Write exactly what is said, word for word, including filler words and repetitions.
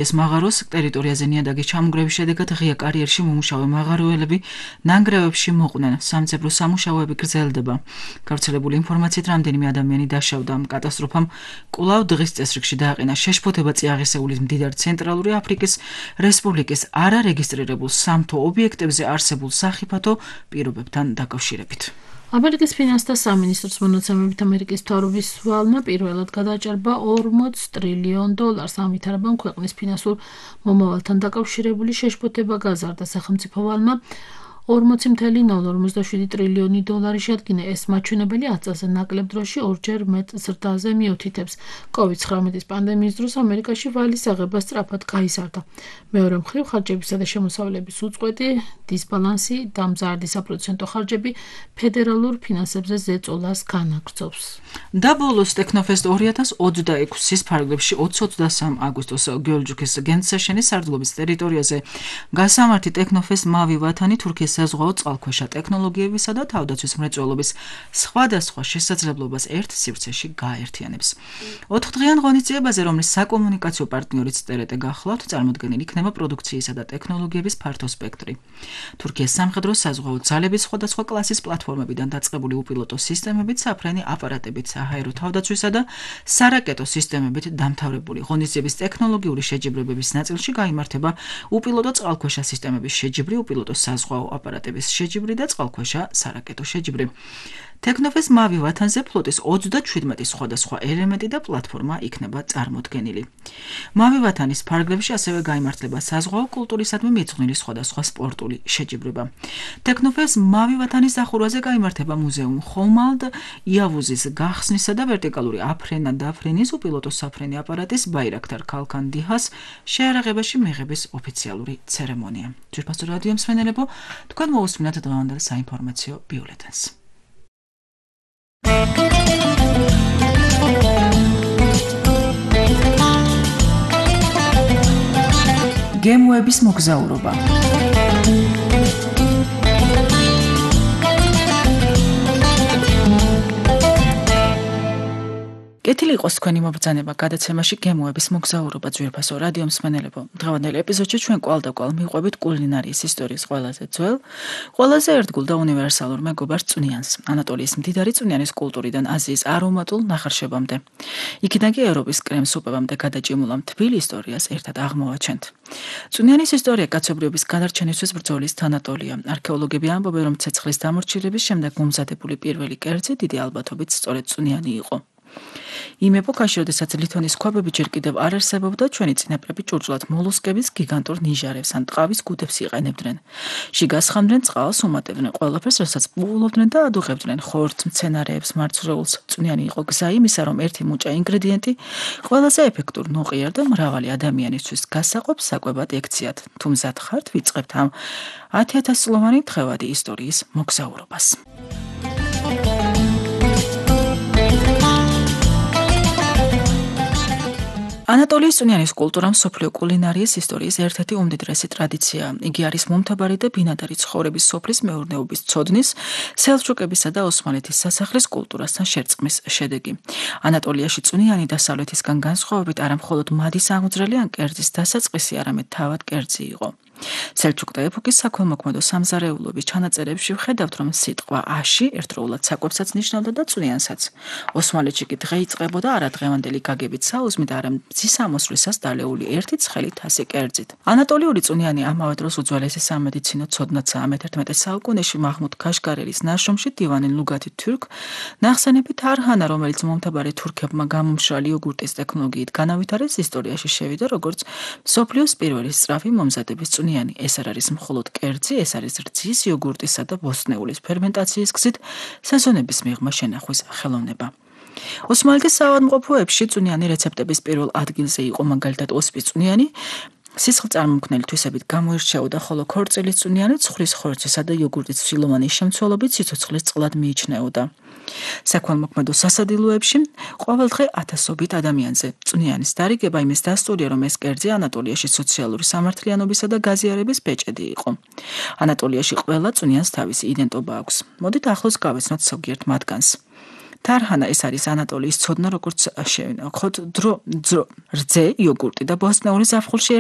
ეს მაღაროს ტერიტორიაზე ნიადაგის ჩამონგრევის შედეგად ღია კარიერში მომუშავე მაღაროელები ნანგრევებში მოყვნენ. სამძებრო სამუშაოები გრძელდება. გავრცელებული ინფორმაციით, რამდენიმე ადამიანი დაშავდა. ამ კატასტროფამ კვლავ დღის წესრიგში დააყენა შეშფოთება წიაღისეულის მდიდარ ცენტრალური აფრიკის რესპუბლიკის არარეგისტრირებულ სამთო ობიექტებზე არსებულ სახიფათო პირობებთან დაკავშირებით. ამერიკის ფინანსთა სამინისტროს მონაცემებით ამერიკის მთავრობის ვალმა პირველად გადაჭარბა ორმოც ტრილიონ დოლარს. ამითარებამ ქვეყნის ფინანსურ მომავალთან დაკავშირებული შეშფოთება გაზარდა. სახელმწიფო ვალმა ორმოცი წუთი ნულ ორმოცდაშვიდი ტრილიონი დოლარი შეადგინა. ეს მაჩვენებელი ათ წელზე ნაკლებ დროში ორჯერ მეტ ზრდაზე მიუთითებს. კოვიდ ცხრამეტის პანდემიის დროს ამერიკაში ვალის აღება სწრაფად გაიზარდა. მეორე მხრივ, ხარჯებისა და შემოსავლების უწყვეტი დისბალანსი და მზარდი საპროცენტო ხარჯები ფედერალურ ფინანსებზე ზეწოლას განაგრძობს. და ბოლოს ტექნოფესტ ორი ათას ოცდაექვსის ფარგლებში ოცი ოცდასამი აგვისტოს გეორჯუქის გენცეშენის სარდლობის ტერიტორიაზე გასამართი ტექნოფესტ მავი ვათანი თურქიის საზღვაო წყალქვეშა ტექნოლოგიებისა და თავდაცვის მრეწველობის სხვადასხვა შესაძლებლობას ერთ სივრცეში გააერთიანებს. ოთხდღიან ღონისძიებაზე, რომლის საკომუნიკაციო პარტნიორიც ტერეტე გახლავთ, წარმოდგენილი იქნება პროდუქციისა და ტექნოლოგიების ფართო სპექტრი. თურქიის სამხედრო საზღვაო ძალების სხვადასხვა კლასის პლატფორმებიდან დაწყებული უპილოტო სისტემებით, საფრენი აპარატებით, საჰაერო თავდაცვისა და სარაკეტო სისტემებით დამთავრებული ღონისძიების ტექნოლოგიური შეჯიბრებების ნაწილში გაიმართება უპილოტო წყალქვეშა სისტემების შეჯიბრი, უპილოტო საზღვაო აპარატების შეჯიბრი და წყალქვეშა სარაკეტო შეჯიბრი. ტექნოფესტ მავი ვათანზე ფლოტის ოცდაჩვიდმეტი სხვადასხვა ელემენტი და პლატფორმა იქნება წარმოდგენილი. მავი ვათანის ფარგლებში ასევე გაიმართება საზღვაო კულტურისადმი მიძღვნილი სხვადასხვა სპორტული შეჯიბრება. ტექნოფესტ მავი ვათანის დახურვაზე გაიმართება მუზეუმ ხომალდ იავუზის გახსნისა და ვერტიკალური აფრენა დაფრენის უპილოტო საფრენი აპარატის ბაირაქტარ ქალქან დიჰას შეარაღებაში მიღების ოფიციალური ცერემონია. ძვირფასო რადიო მსმენელებო, თქვენ მოусმინათ დღევანდელ საინფორმაციო ბიულეტენს. გემოების მოგზაურობა. კეთილი იყოს თქვენი მობრძანება გადაცემაში გემოების მოგზაურობა. ძვირფასო რადიო მსმენელებო, დღევანდელ ეპიზოდში ჩვენ კვალ და კვალ მივყვებით კულინარიის ისტორიის ყველაზე ძველ, ყველაზე ერთგულ და უნივერსალურ მეგობარ წვნიანს, ანატოლიის მდიდარი წვნიანის კულტურიდან აზიის არომატულ ნახარშებამდე. იქიდან კი ევროპის კრემ-სუპებამდე გადაჭიმულ ამ თბილ ისტორიას ერთად აღმოვაჩენთ. წვნიანის ისტორია კაცობრიობის გადარჩენისთვის ბრძოლის თანატოლია. არქეოლოგები ამბობენ, რომ ცეცხლის დამორჩილების შემდეგ მომზადებული პირველი კერძი დიდი ალბათობით სწორედ წვნიანი იყო. იმ ეპოქაში, როდესაც ლითონის ქვაბები ჯერ კიდევ არ არსებობდა, ჩვენი წინაპრები ჭურჭლად მოლუსკების გიგანტურ ნიჟარებს ან ტყავის გუდებს იყენებდნენ. შიგას ხამდნენ წყალს, უმატებდნენ ყველაფერს, რასაც პუულობდნენ და ადუღებდნენ ხორცს, მცენარეებს, მარცვლეულს. წვნიანი იყო გზა იმისა, რომ ერთი მუჭა ინგრედიენტი ყველაზე ეფექტურ, ნოყიერ და მრავალი ადამიანისთვის გასაყოფს საკვებად ექციათ. თუ მზად ხართ, ვიწყებთ ამ ათი ათას წლოვანი დღევადი ისტორიის მოგზაურობას. ანატოლიის წვნიანის კულტურა მსოფლიო კულინარიის ისტორიის ერთ-ერთი უმდიდრესი ტრადიციაა. იგი არის მომთაბარი და ბინადარი ცხოვრების სოფლის მეურნეობის ცოდნის, სელჩუკებისა და ოსმალეთის სასახლის კულტურასთან შერწყმის შედეგი. ანატოლიაში წვნიანი დასავლეთისგან განსხვავებით არა მხოლოდ მადის აღმძრელი ან კერძის დასაწყისი, არამედ თავად კერძი იყო. სელჩუკთა ეპოქის საქველმოქმედო სამზარეულოების ჩანაწერებში ვხედავთ, რომ სიტყვა აში ერთდროულად საკვებსაც ნიშნავდა და წვნიანსაც. ოსმალეთში კი დღე იწყებოდა არა დღევანდელი გაგებით საუზმით, არამედ მზის ამოსვლისას დალეული ერთი ცხელი თასი კერძით. ანატოლიური წვნიანი ამავე დროს უძველესი სამედიცინო ცოდნაცაა. მეთერთმეტე საუკუნეში მაჰმუდ ქაშგარელის ნაშრომში დივანი ლუგათი თურქ ნახსენები თარჰანა, რომელიც მომთაბარე თურქებმა გამომშრალი იოგურტის ტექნოლოგიით განავითარეს, ისტორიაში შევიდა როგორც მსოფლიოს პირველი სწრაფი მომზადების წვნიანი. ეს არ არის მხოლოდ კერძი, ეს არის რძის, იოგურტისა და ბოსტნეულის ფერმენტაციის გზით სეზონების მიღმა შენახვის ხელოვნება. ოსმალეთის საავადმყოფოებში წვნიანი რეცეპტების პირველ ადგილზე იყო, მაგალითად ოსპის წვნიანი სისხლწარმომქმნელი თვისებით გამოირჩეოდა, ხოლო ქორწილის წვნიანი ცხრის ხორცისა და იოგურტის ცვილოვანი შემცველობით სიცოცხლის წყლად მიიჩნეოდა. საქველმოქმედო სასადილოებში ყოველდღე ათასობით ადამიანზე წვნიანის დარიგება იმის დასტურია, რომ ეს კერძი ანატოლიაში სოციალური სამართლიანობისა და გაზიარების ბეჭედი იყო. ანატოლიაში ყველა წვნიანს თავისი იდენტობა აქვს. მოდით ახლოს გავეცნოთ ზოგიერთ მათგანს. თარჰანა ეს არის ანატოლიის ცოდნა, როგორც ხოთ დრო ძრო რძე, იოგურტი და ბოსტნეულის ზაფხულში